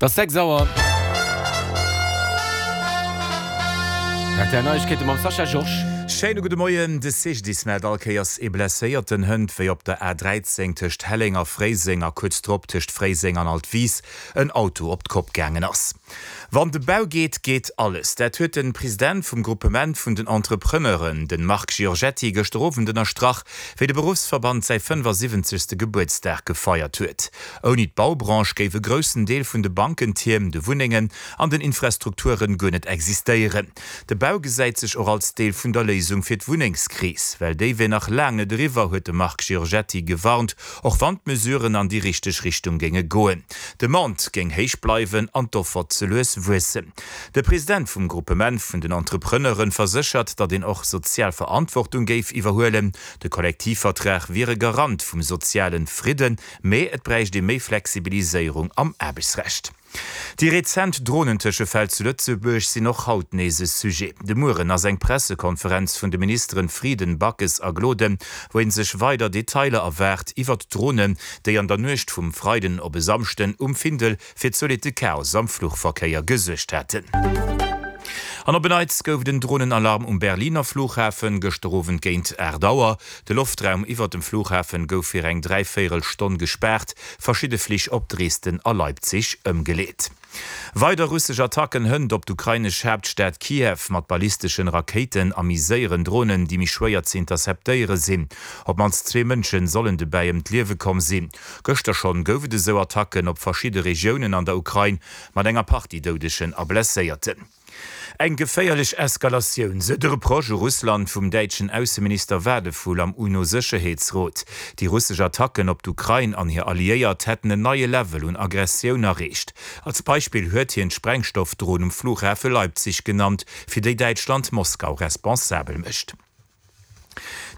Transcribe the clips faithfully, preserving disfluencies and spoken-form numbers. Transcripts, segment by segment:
Et ass sechs Auer. R T L Neiegkeete mam Sascha Georges. Schéine gudde Moien. De C G D I S mellt all Kéiers ee Blesséierten hënt, wéi op der A dräizéng tëscht Helleng a Fréiseng a kuerz drop tëscht Fréiseng an Altwis en Auto op d'Kopp gaangen ass. Wann de Bau geet, geet alles. Dat huet de President vum Gruppement vun den Entrepreneuren, de Marc Giorgetti, gëschter Owend ënnerstrach, wéi de Beruffsverband säi fënnefasiwwenzegste Gebuertsdag gefeiert huet. Ouni d'Baubranche géif e groussen Deel vun de Bankentierm, de Wunnengen an den Infrastrukturen guer net existéieren. De Bau gesäit sech och als Deel vun der Léisung fir d'Wunnengskris, well déi wier nach laang net eriwwer, huet de Marc Giorgetti gewarnt, och wann d'Mesuren an déi richteg Richtung géinge goen. D'Demande géing héich bleiwen an d'Offer ze lues wuessen. De President vum Gruppement vun den Entrepreneuren verséchert, datt een och sozial Verantwortung géif iwwerhuelen. De Kollektivvertrag wier e Garant vum sozialen Fridden, mee et bräicht ee méi Flexibiliséierung am Aarbechtsrecht. Déi rezent Dronentëschefäll zu Lëtzebuerg sinn och haut nees e Sujet. De Mueren ass eng Pressekonferenz vun de Ministeren Frieden, Backes a Gloden, wou ee sech weider Detailer erwaart iwwert d'Dronen, déi an der Nuecht vum Freiden op e Samschden um Findel fir zolitte Chaos am Fluchverkéier gesuergt haten. An op en Neits gouf et en Dronenalarm um Berliner Flughafen, gëschter Owend géint aacht Auer. De Loftraum iwwert dem Flughafen gouf fir eng dräivéierel Stonn gespaart, verschidde Flich op Dresden a Leipzig ëmgeleet. Weider russesch Attacken hënt op d'ukrainesch Haaptstad Kiew mat ballisteschen Rakéiten a méi séieren Dronen, déi méi schwéier ze interceptéiere sinn. Op d'mannst zwee Mënsche sollen dobäi ëm d'Liewe komm sinn. Gëschter schonn gouf et esou Attacken op verschidde Regiounen an der Ukrain mat enger Partie Doudegen a Blesséierten. Eng geféierlech Eskalatioun, sou de Reproche u Russland vum däitschen Ausseminister Wadephul am UNO-Sécherheetsrot. Déi russesch Attacken op d'Ukrain an hir Alliéiert hätten en neie Level un Aggressioun erreecht. Als Beispill huet hien d'Sprengstoffdron um Flughafe Leipzig genannt, fir déi Däitschland Moskau responsabel mécht.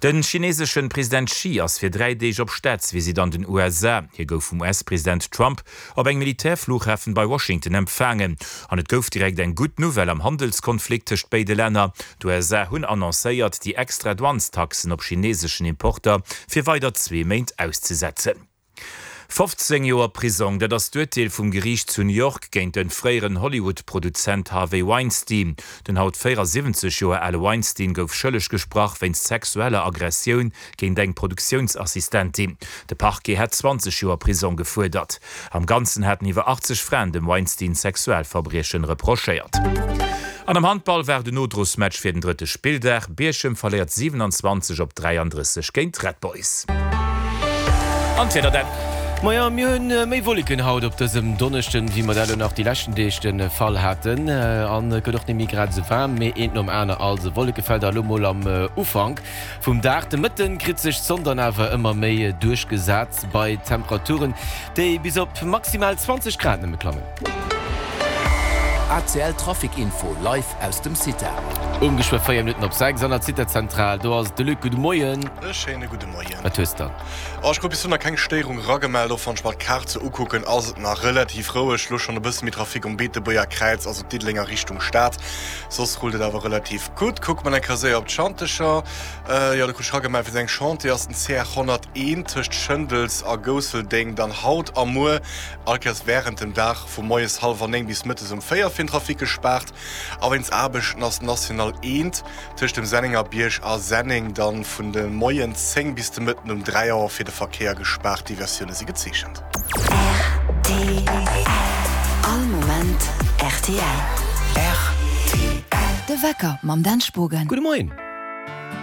De chineeseschen President Xi ass fir dräi Deeg op Staatsvisitt an den U S A. Hie gouf vum U S-President Trump op engem Militärflughafen bei Washington empfaangen. An et gouf direkt eng gutt Nouvelle am Handelskonflikt tëscht béide Länner. D'U S A hunn annoncéiert, déi extra Douanestaxen op chineeseschen Importer fir weider zwee Méint auszesetzen. fofzéng Joer Prisong, dat ass d'Urteel vum Geriicht zu New York géint de fréieren Hollywood-Produzent Harvey Weinstein. Den haut véierasiwwenzeg Joer ale Weinstein gouf schëlleg gesprach wéinst sexueller Aggressioun géint eng Produktiounsassistentin. De Parquet hat zwanzeg Joer Prisong gefuerdert. Am Ganzen haten iwwer achtzeg Fraen dem Weinstein Sexualverbriechen reprochéiert. An am Handball war den Nodrosmatch fir den drëtte Spilldag. Bierchem verléiert siwenanzwanzeg op dräiandrësseg géint d'Red Boys. An d'Wieder dann. Maja, mir hunn méi Wolleken haut op dësem Donneschden, wéi mer dat elo nach déi leschten Deeg de Fall haten. An et gëtt och net méi grad esou waarm, mee eent nom aner. Also Wollekefelder elo mol am Ufank vum Dag. De Mëtten kritt sech d'Sonn dann awer ëmmer méi duerchgesat bei Temperaturen, déi bis op maximal zwanzeg Grad nëmme klammen. A C L Trafic Info live aus dem CITA. Um geschwë véier Minutten op sechs an der CITA-Zentral, do ass de Luc. Gudde Moien. E schéine gudde Moien. Wat hues dann? Oh, ech krut bis elo nach keng Stéierung eragemellt. Och wann ech mer d'Kaart sou ukucken, ass et nach relativ roueg. Elo schonn e bësse méi Trafic um Beetebuerger Kräiz, also Diddelenger Richtung Stad. Soss rullt et awer relativ gutt. Kucke mer eng Kéier séier op d'Schantecher. Jo, do krut ech eragemellt, wéinst engem Chantier ass den C R honnerteent tëscht Schëndels a Gousseldeng dann haut a muer all Kéiers wärend dem Dag vu moies hallwer néng bis mëttes um véier fir den Trafic gespaart. A wéinst Aarbechten ass d'National eent tëscht dem Sennengerbierg a Senneng dann vun de Moien zéng bis de Mëtten um dräi Auer fir de Verkéier gespaart. Diversioune si gezeechent. R T L. All Moment R T L. R T L. De Wecker mam Dan Spogen. Gudde Moien.